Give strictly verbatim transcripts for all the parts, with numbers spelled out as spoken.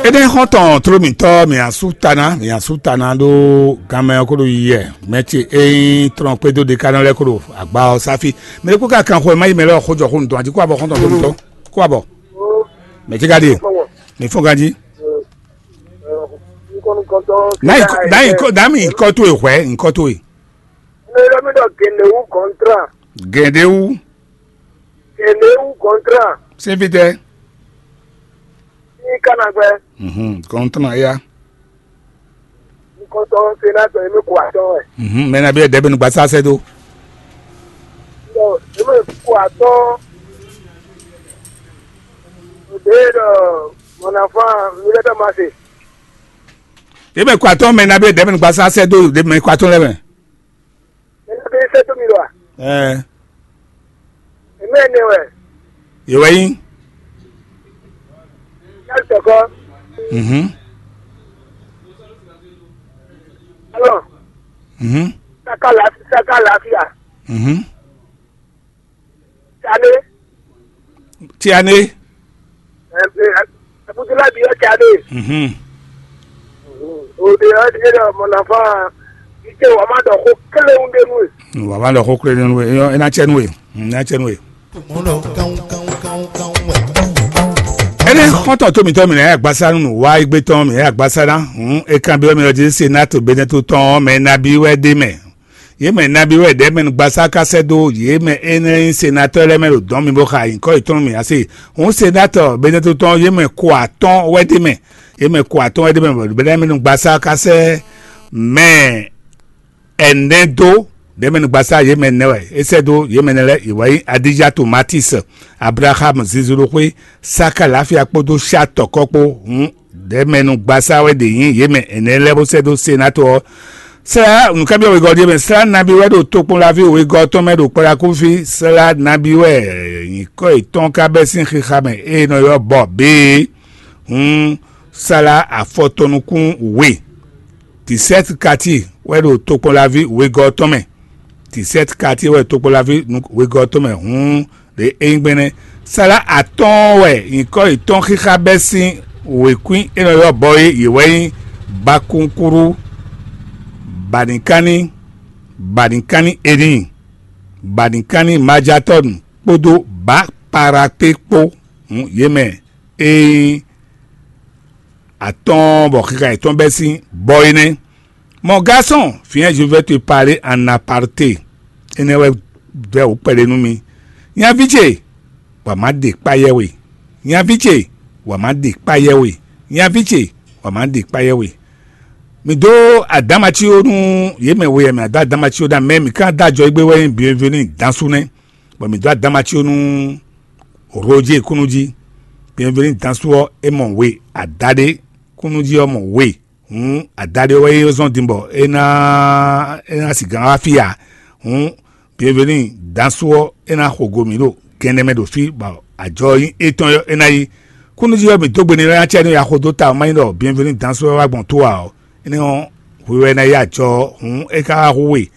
Énɛ́ xɔ́ntɔn tló mǐtɔn mǐ asú ta ná, mǐ asú ta ná ɖó ganmɛ ɔ́ kó ɖo yiyɛ. Mɛ ce e nyí trɔn kpédó ɖekanɔ lɛ́ɛ kó ɖo agba ɔ́ sáfí. Mɛ ɖé kó ka kan xwɛ má yi mɛ lɛ́ɛ xó jɔ xó nǔtɔn, a jí kó abɔ xɔ́ntɔn tló mǐtɔn kó abɔ. Mɛ ce ka ɖe, mǐ fɔ́n ganjí. Nǎ yi kɔ- nǎ yi kɔ- nǎ mi nyǐkɔ towe hwɛ̌, nyǐkɔ towe. Mɛ ɖɔ mí ɖɔ gěnɖéwú kɔntrá. Gěnɖéwú. Gěnɖéwú kɔntrá. Sín fítɛ́. Ní kánagbɛ́. Mhm, kɔntrá ya. Nukɔntɔn senatɔ yě mɛ ko atɔ́ wɛ. Mhm, mɛ nabí wɛ dɛbɛ nugba sá sɛ dó. Ɖɔ yě mɛ ko atɔ́. Ɖě ɖɔ mɔnafan mi lɛ tɔ ma se. Yě mɛ ko atɔ́ mɛ nabí wɛ dɛbɛ nugba sá sɛ dó, yě mɛ ko atɔ́ lɛ mɛ. Mɛ nabí sɛ tó mi lɔ a? Ɛɛ. Èmi ɛnɛ wɛ. Yě wɛ nyí. Yálù tɔkɔ. Mhm. Alɔ. Mhm. Saka lafi saka lafiya. Mhm. Tane. Tiane. Abudulayi bi ɔ́ tane. Mhm. Òde ɔ́ ɖe ɖɔ mɔnafan. Ite wà má ɖɔ xó kélé ń ɖe nú e. Wà má ɖɔ xó kélé nú e. É ná cɛ nú e. Mm, é ná cɛ nú e. Énɛ́ xɔ́ntɔn tó mǐtɔn mǐ nɛ́ yɛ agbasá nú nǔ wá égbé tɔn mǐ nɛ́ yɛ agbasá ná. Hǔn é kanbyɔ́ mì ɔ́ jí sénátɔ Benɛto tɔn ɔ́ mɛ nabí wɛ ɖ'é mɛ. Yě mɛ nabí wɛ ɖɛ̌ mɛ nugbasáká sɛ́ dó yě mɛ énɛ́ nyí senatɔ́ lɛ́ɛ mɛ ɖo dɔ̌n mi bó xa nyǐkɔ yětɔn nú mǐ ǎ se. Hǔn senatɔ Benɛto tɔn yě mɛ ko atɔ́ɔ́n wɛ ɖ'é mɛ. Yě mɛ ko atɔ́ɔ́n wɛ ɖ'é mɛ bɔ ɖɛ̌ mɛ nugbasáká sɛ́ mɛ ɛnɛ dó ɖɛ̌ mɛ nugbasáká yě mɛ nɛ́ wɛ é sɛ́ dó yě mɛ nɛ́ lɛ́ɛ. Yě wɛ nyí Adija Tomatis, Ablaham Zizuluxwé, Saka Lafia kpódó Shatɔkɔ kpó. Hǔn ɖɛ̌ mɛ nugbasáká wɛ ɖě nyí yě mɛ ɛnɛ lɛ́ɛ bó sɛ́ dó senatɔ ɔ́. Sɛ́ nǔkanbyɔ́ wegɔ́ ɖíe mɛ slá nabí wɛ ɖo tokpɔnlaví wegɔ́ tɔn mɛ ɖo kpɔɖakúfí slá nabí wɛ nyǐkɔ yětɔn ka bɛ́ sín xixa mɛ e nɔ ylɔ́ bɔ běe. Hǔn slá afɔtɔnukún we. Tisɛ́t kati wɛ ɖo tokpɔnlaví wegɔ́ tɔn mɛ. Tisɛ́t kati wɛ tokpɔnlaví wegɔ́ tɔn mɛ hǔn ɖě é nyí gbɛ́nɛ́. Slá atɔ́ɔ́n wɛ nyǐkɔ yětɔn xixa bɛ́ sín wěkwín e nɔ ylɔ́ bɔ é yě wɛ nyí Bakunkúrú, Banikánní, Banikánní Eníi, Banikánní Majatɔ́nu kpódó Baparakpé kpó. Hǔn yě mɛ e nyí atɔ́ɔ́n bɔ xixa yětɔn bɛ́ sín bɔ é nɛ́. Mon garçon, viens, je vais te parler en aparté. Énɛ́ wɛ vɛ́ wǒ kpɛɖé nú mi. Nyaví ce, wǎ má ɖe kpá yɛ we. Nyaví ce, wǎ má ɖe kpá yɛ we. Nyaví ce, wǎ má ɖe kpá yɛ we. Mi dó adámací ó nú yě mɛ we e mɛ adó adámací ó ná mɛ mi ká dó ajɔ égbé wɛ nyí Bienvenu Dansu nɛ́, bɔ mi dó adámací ó nú Roger Kúnújí. Bienvenu Dansu ɔ́, é mɔ we adaɖé, Kúnújí ɔ́ mɔ we. Hǔn adaɖé ɔ́ wɛ é zɔ́n din bɔ é ná é ná sigán wá fí ǎ. Hǔn Bienvenu Dansu ɔ́, é ná xo go mǐ ɖo gɛnɛ mɛ ɖo fí, bɔ ajɔ ɔ́ nyí étɔn ɔ́, é ná yi. Kúnújí ɔ́, mǐ dó gbe n'i lɛ́ ná cɛ nú ya xo dó ta ɔ́, má nyí ɖɔ Bienvenu Dansu ɔ́ wá gbɔn tó ǎ ɔ́, énɛ́ ɔ́, hwi wɛ ná yi ajɔ ɔ́. Hǔn é ka wá hu we.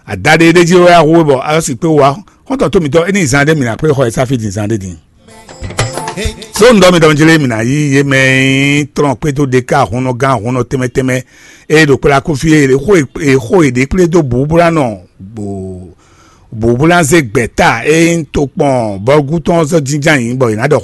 Adaɖé ɖé jí wɛ wá hu we bɔ a sɔ́ sixú wá. Xɔ́ntɔn tó mǐtɔn, é ní zan ɖé mǐ ná kplé xɔ e sáfí din zan ɖé din. So un ɖɔ mi ɖɔ un jlé mǐ ná yí yě mɛ e nyí tlɔn kpédó ɖéká ahunnɔ gán ahunnɔ tɛnmɛ tɛnmɛ e ɖo kplá kú fí e xó e xó e ɖě kplé dó bǔbúlánɔ bǔbúlánzé gbɛ̌ta e nyí tokpɔn bɔlgútɔn ɔ́ zɔ́ jínjɔ́n ayǐ bɔ è nǎ ɖɔ xó